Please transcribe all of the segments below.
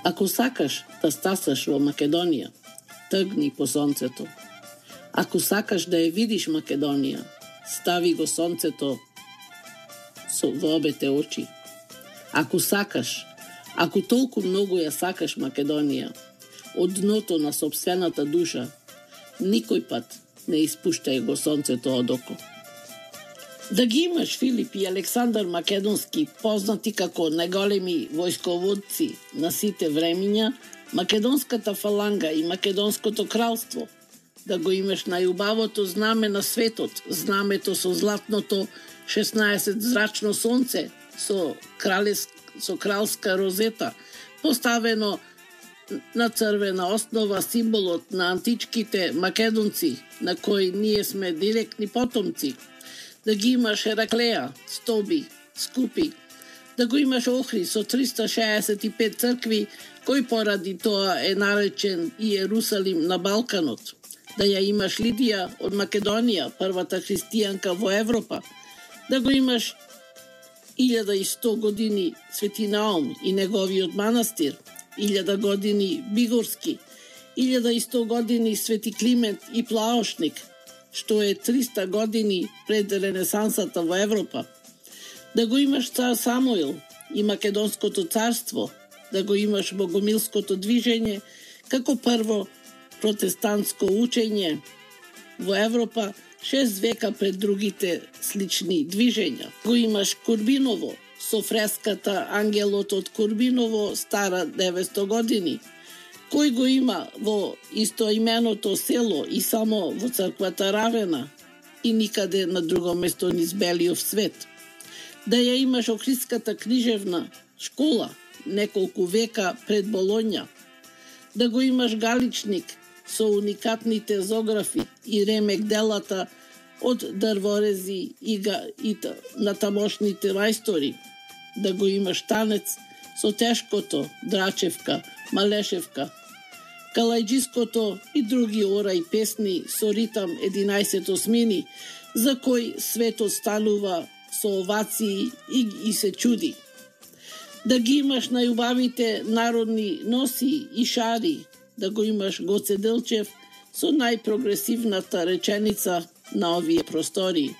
Ако сакаш да стасаш во Македонија, тргни по сонцето. Ако сакаш да ја видиш Македонија, стави го сонцето во обете очи. Ако сакаш, ако толку многу ја сакаш Македонија, од дното на сопствената душа, никој пат не испуштај го сонцето од око. Да ги имаш Филип и Александар Македонски, познати како најголеми војсководци на сите времиња, Македонската фаланга и Македонското кралство, да го имаш најубавото знаме на светот, знамето со златното 16 зрачно сонце, со кралска розета, поставено на црвена основа, символот на античките македонци, на кои ние сме директни потомци. Да ги имаш Хераклеја, Стоби, Скупи, да го имаш Охрид со 365 цркви, кој поради тоа е наречен Иерусалим на Балканот. Да ја имаш Лидија од Македонија, првата христијанка во Европа. Да го имаш 1100 години Свети Наум и неговиот манастир, 1000 години Бигорски, 1100 години Свети Климент и Плаошник, што е 300 години пред Ренесансата во Европа. Да го имаш цар Самуил и Македонското царство, да го имаш Богомилското движење, како прво протестантско учење во Европа 6 века пред другите слични движења. Го имаш Курбиново со фреската Ангелот од Курбиново, стара 900 години, кој го има во истоименото село и само во црквата Равена и никаде на друго место низ белиот свет. Да ја имаш Охридската книжевна школа неколку века пред Болоња. Да го имаш Галичник со уникатните зографи и ремек делата од дрворези и на тамошните мајстори. Да го имаш Танец со тешкото, Драчевка, Малешевка, Калајджиското и други ора и песни со ритам 11 осмини, за кој светот станува со овации и се чуди. Да ги имаш најубавите народни носи и шари, да го имаш Гоце Делчев со најпрогресивната реченица на овие простори.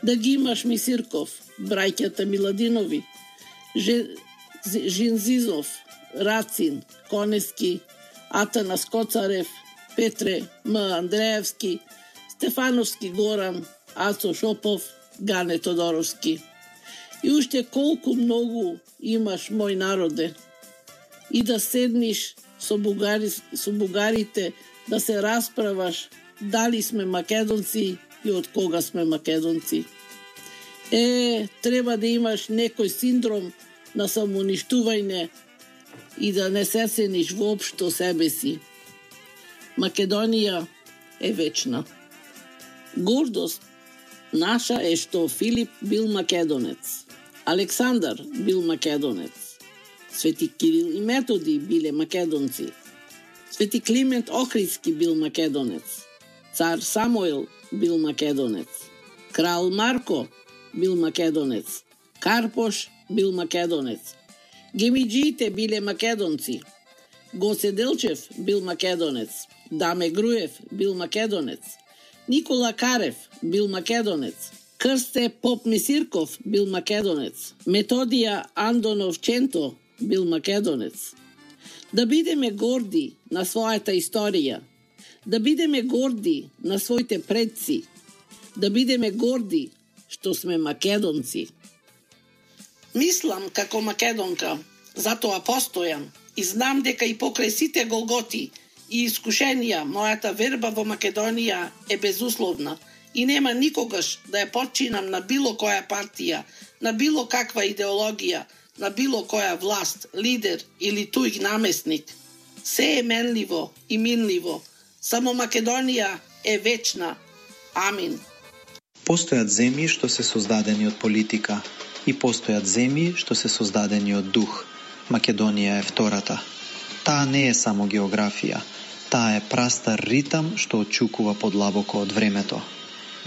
Да ги имаш Мисирков, браќата Миладинови, Жинзизов, Рацин, Конески, Атанас Коцарев, Петре М. Андреевски, Стефановски Горан, Ацо Шопов, Гане Тодоровски. И уште колку многу имаш, мој народе. И да седниш со бугарите, да се расправаш дали сме македонци и од кога сме македонци. Треба да имаш некој синдром на самоуништување и да не се цениш воопшто себе си. Македонија е вечна. Гордост наша е што Филип бил македонец, Александар бил македонец, Свети Кирил и Методи биле македонци, Свети Климент Охридски бил македонец, цар Самуил бил македонец, крал Марко бил македонец, Карпош бил македонец, Гемиџиите биле македонци, Гоце Делчев бил македонец, Даме Груев бил македонец, Никола Карев бил македонец, Крсте Поп Мисирков бил македонец, Методија Андонов Ченто бил македонец. Да бидеме горди на својата историја, да бидеме горди на своите предци, да бидеме горди што сме македонци. Мислам како македонка, затоа постојам и знам дека и покрај сите голготи и искушенија мојата верба во Македонија е безусловна и нема никогаш да ја подчинам на било која партија, на било каква идеологија, на било која власт, лидер или туѓ намесник. Се е менливо и минливо. Само Македонија е вечна. Амин. Постојат земји што се создадени од политика и постојат земји што се создадени од дух. Македонија е втората. Таа не е само географија. Таа е прастар ритам што отчукува подлабоко од времето.